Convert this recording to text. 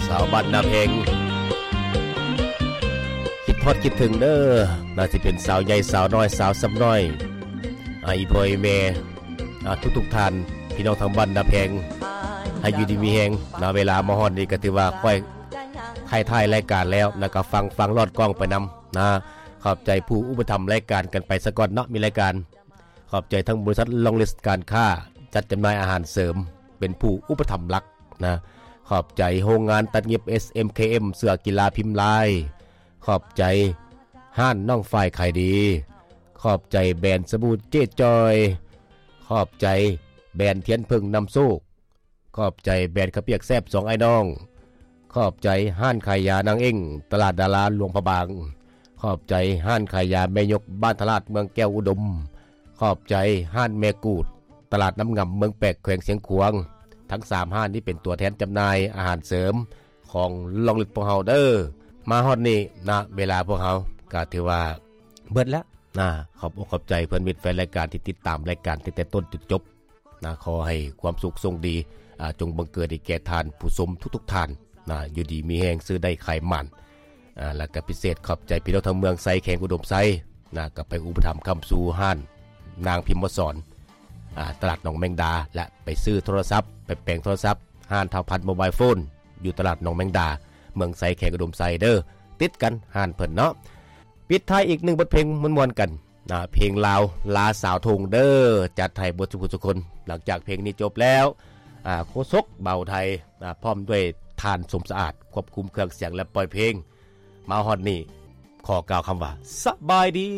ສາວບ້ານນາແພງ ຄິດຮອດຄິດເຖິງເດີ ໜ້າຊິເປັນສາວໃຫຍ່ສາວນ້ອຍ ສາວຊຳນ້ອຍ ອາ ອີ່ພໍ່ອີ່ແມ່ ອາ ທຸກໆທ່ານ ພີ່ນ້ອງທາງບ້ານນາແພງ ໃຫ້ຢູ່ດີມີແຮງນະ. ເວລາມາຮອດນີ້ກໍຖືວ່າຂ້ອຍຖ່າຍ ຖ່າຍລາຍການແລ້ວ ແລ້ວກໍຟັງ ຟັງລອດກ້ອງໄປນຳນະ. ຂອບໃຈຜູ້ອຸປະຖຳລາຍການກັນໄປສາກ່ອນເນາະ ມີລາຍການ. ຂອບໃຈທັງບໍລິສັດລອງລິສການຄ້າ ຈັດຈຳໜ່າຍອາຫານເສີມ ເປັນຜູ້ອຸປະຖຳຫຼັກນະ. ຂອບໃຈໂຮງງານຕັດຫຍິບ ເອສເອັມເຄເອັມ ເສື້ອກິລາພິມລາຍ. ຂອບໃຈຮ້ານນ້ອງຝ້າຍຂາຍດີ. ຂອບໃຈແບຣນສະບູເຈ້ຈ່ອຍ. ຂອບໃຈແບຣນທຽນເຜິ້ງນຳໂຊກ. ຂອບໃຈແບຣນເຂົ້າປຽກແຊບສອງອ້າຍນ້ອງ. ຂອບໃຈຮ້ານຂາຍຢານາງເອັ້ງ ຕະຫຼາດດາລາຫຼວງພະບາງ. ຂອບໃຈຮ້ານຂາຍຢາແມ່ຍົກ ບ້ານທະລາດ ເມືອງແກ້ວອຸດົມ. ຂອບໃຈຮ້ານແມ່ກູດ ຕະຫຼາດນ້ຳງຳ ເມືອງແປກ ແຂວງຊຽງຂວາງ. ທັງສາມຮ້ານນີ້ເປັນຕົວແທນຈຳໜ່າຍອາຫານເສີມຂອງລອງລິສພວກເຮົາເດີ. ມາຮອດນີ້ນະ ເວລາພວກເຮົາກໍຖືວ່າເບິດແລ້ວນະ. ຂອບອົກຂອບໃຈເພື່ອນມິດແຟນລາຍການທີ່ຕິດຕາມລາຍການຕັ້ງແຕ່ຕົ້ນຈົນຈົບ. ນະ ຂໍໃຫ້ຄວາມສຸກໂຊກດີ ອາ ຈົ່ງບັງເກີດໃຫ້ແກ່ທ່ານຜູ້ຊົມທຸກໆທ່ານນະ ຢູ່ດີມີແຮງ ຊື້ໄດ້ຂາຍໝານ. ອາ ແລ້ວກໍພິເສດຂອບໃຈພີ່ນ້ອງທາງເມືອງໄຊ ແຂວງອຸດົມໄຊນະ ກໍໄປອຸປະຖຳຄ້ຳຊູຮ້ານນາງພິມມະສອນ ອາ ຕະຫຼາດໜອງແມງດາ ແລະ ໄປຊື້ໂທລະສັບ ໄປແປງໂທລະສັບ ຮ້ານທ້າວພັນໂມບາຍໂຟນ ຢູ່ຕະຫຼາດໜອງແມງດາ ເມືອງໄຊ ແຂວງອຸດົມໄຊເດີ. ຕິດກັນຮ້ານເພິ່ນເນາະ. ປິດທ້າຍອີກໜຶ່ງບົດເພງມ່ວນໆກັນນະ ເພງລາວລາສາວທົ່ງເດີ ຈັດໃຫ້ເບິດສູ່ຜູ້ສູ່ຄົນ. ຫຼັງຈາກເພງນີ້ຈົບແລ້ວ ອາ ໂຄສົກບ່າວໄທ ອາ ພ້ອມດ້ວຍທ່ານສົມສະອາດ ຄວບຄຸມເຄື່ອງສຽງ ແລະ ປ່ອຍເພງ. ມາຮອດນີ້ ຂໍກ່າວຄຳວ່າ ສະບາຍດີ.